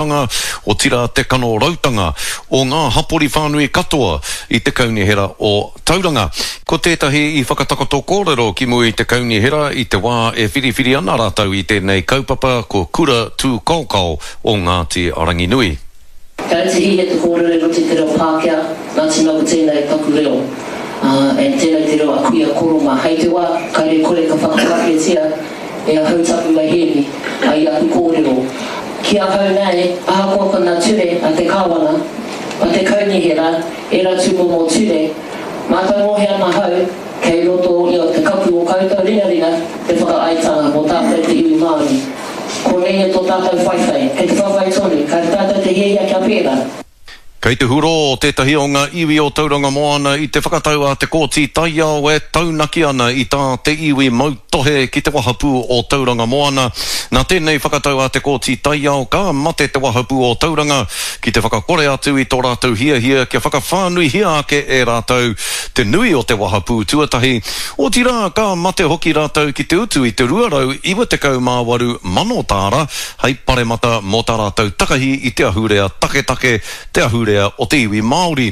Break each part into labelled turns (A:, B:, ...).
A: Tanga, otirā te kanorautanga o ngā hapori whānui katoa i te Kaunihera o Tauranga. Ko tētahi i whakatakoto kōrero ki mua i te Kaunihera i te wā e whiriwhiri ana rātou i tēnei kaupapa ko Kura Tūkaokao o Ngāti Ranginui.
B: Kei te hiahia te kōrero i roto i te reo Pākehā, nā te mea ko tēnei taku reo, ā, and tēnei te reo a kuia koro mā. Hei te wā, kāre kore ka whakapākehātia e ahau taku maihēni, ā, i aku kōrero. Ki ahau nei, ahakoa ko ngā ture a te Kāwana, a te Kaunihera, ērā tūmomo ture, mātau ngohe ana ahau, Kei roto i o te kapu o koutou ringaringa te whakaaetanga mō tātou te iwi Māori. Konei e tō tātou whaiwhai, kei te whawhai tonu, kāre tātou te hiahia kia pērā.
A: Kei te hurō tētahi o ngā iwi o Tauranga Moana i te whakatau a te Kōti Taiao e taunaki ana i tā te iwi mautohe ki te wahapū o Tauranga Moana. Nā tēnei whakatau a te Kōti Taiao ka mate te wahapū o Tauranga ki te whakakore atu i tō rātou hiahia kia whakawhānuihia ake e rātou te nui o te wahapū tuatahi, otirā ka mate hoki rātou ki te utu i te 298 mano tāra hei paremata mō tā rātou takahi i te ahurea taketake, te ahurea o te iwi Māori.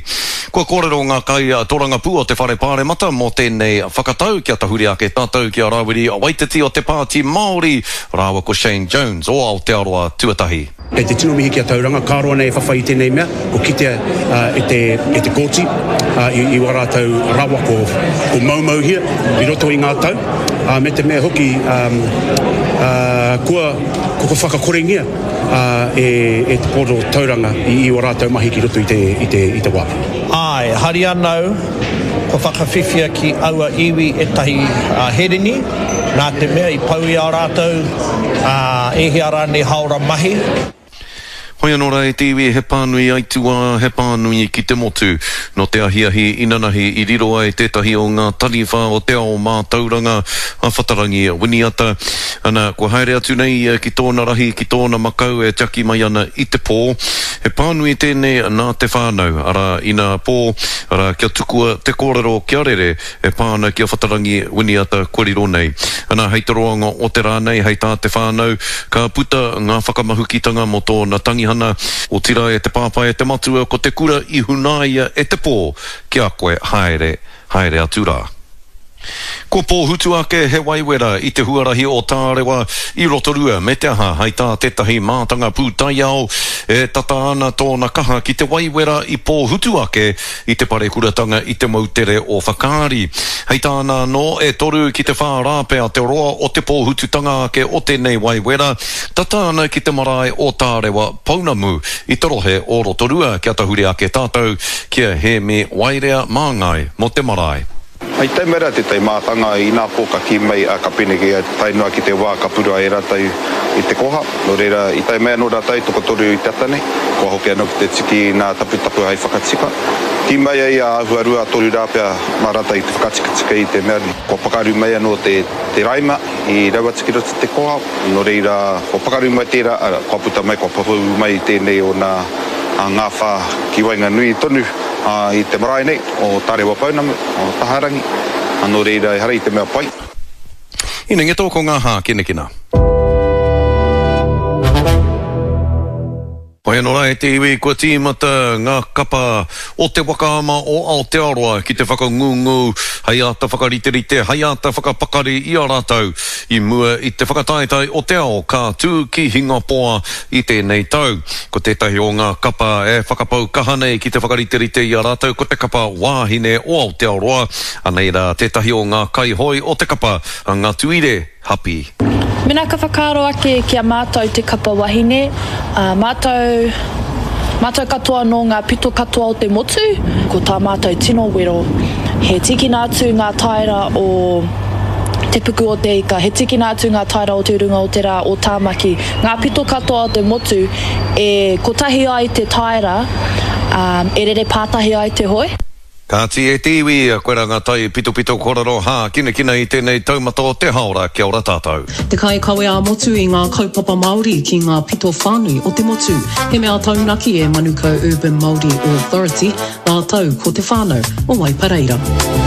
A: Kua kōrero ngā kai torangapū o te Whare Pāremata mō tēnei whakatau kia tahuri ake tātou ki a Rāwiri Waititi o te Pāti Māori rāua ko Shane Jones o Aotearoa Tuatahi.
C: Kei te tino mihi ki a Tauranga, ka roa nei e whawhai i tēnei mea, ko kitea e te, e te kōti i, i wā rātou rawa ko, ko moumouhia i roto i ngā tau, ā, me te mea hoki ā, kua, kua whakakorengia e, e te Port o Tauranga i, i wā rātou mahi ki roto i te, i te, i te wā.
D: Āe, hari ana au, kua whakawhiwhia ki aua iwi ētahi herini, nā te mea i pau i a rātou, ā, e hia rānei haora mahi.
A: Hoi anō rā e te iwi, he pānui aituā, he pānui ki te motu. Nō te ahiahi inanahi i riro ai tētahi o ngā taniwha o te ao mātauranga, a Whatarangi Winiata. Ana, kua haere atu nei ia ki tōna rahi, ki tōna makau e tiaki mai ana i te pō. He pānui tēnei nā te whānau, arā, inā pō, arā, kia tukua te kōrero kia rere, e pā ana ki a Whatarangi Winiata kua riro nei. Ana, hei te roanga o te rā nei, hei tā te whānau, ka puta ngā whakamahukitanga mō tōna tangihana, otirā e te pāpā e te matua, ko te kura i hunaia e te pō ki a koe, haere, haere atu rā. Kua pōhutu ake he waiwera i te huarahi o Tārewa i Rotorua me te aha, hei tā tētahi mātanga pūtaiao, e tata ana tōna kaha ki te waiwera i pōhutu ake i te parekuratanga i te moutere o Whakaari. Hei tāna anō, e toru ki te whā rā pea te roa o te pōhututanga ake o tēnei wai wera, tata ana ki te marae o Tārewa Pounamu i te rohe o Rotorua kia tahuri ake tātou ki a Hēmi Waerea Māngai mō te marae.
E: I tae mai rā tētahi mātanga inā pō ka kī mai a ka peneki a tae noa ki te wā ka purua e rātou i te koha. Nō reira, i tae mai anō rātou tokotoru i te ata nei, kua hoki anō ki te tiki i ngā taputapu hai whakatika. Kī mai ai a āhua 2, 3 rā pea mā rātou i te whakatikatika i te mea kua pakaru mai anō te te raima i rau atu ki roto i te koha. Nō reira, kua pakaru mai tērā, arā, kua puta mai, kua pupū mai tēnei o nā ngāwhā ki waenganui tonu i te marae nei. O Tarewa Pounamu, o Taharangi, nō reira ehara i te mea pai.
A: Inengeto ko ngā hākinakina. Hoi anō rā e te iwi, kua tīmata ngā kapa o te waka ama o Aotearoa ki te whakangungu hei āta whakariterite, hei āta whakapakari i a rātou i mua i te whakataetae o te ao ka tū ki Hingapoa i tēnei tau. Ko tētahi o ngā kapa e whakapau kaha nei ki te whakariterite i a rātou ko te kapa wāhine o Aotearoa. Anei rā tētahi o ngā kaihoe o te kapa, a Ngatuire Hapi.
F: Mena ka whakaaro ake ki a mātou te kapa wahine, ā, mātou, mātou katoa nō ngā pito katoa o te motu, ko tā mātou tino wero, he tīkina atu ngā taera o Te Puku o te Ika, he tīkina atu ngā taera o Te Urunga o te Rā o Tāmaki, Ngā pito katoa o te motu e kotahi ai te taera, ā, e rere pātahi ai te hoe.
A: Kāti e te iwi, koira ngā tai pitopito korero hākinakina i tēnei taumata o te haora, kia ora tātou.
G: Te kaikawe ā-motu i ngā kaupapa Māori ki ngā pito whānui o te motu. He mea taunaki e Manukau Urban Māori Authority rātou ko te whānau o Waipareira.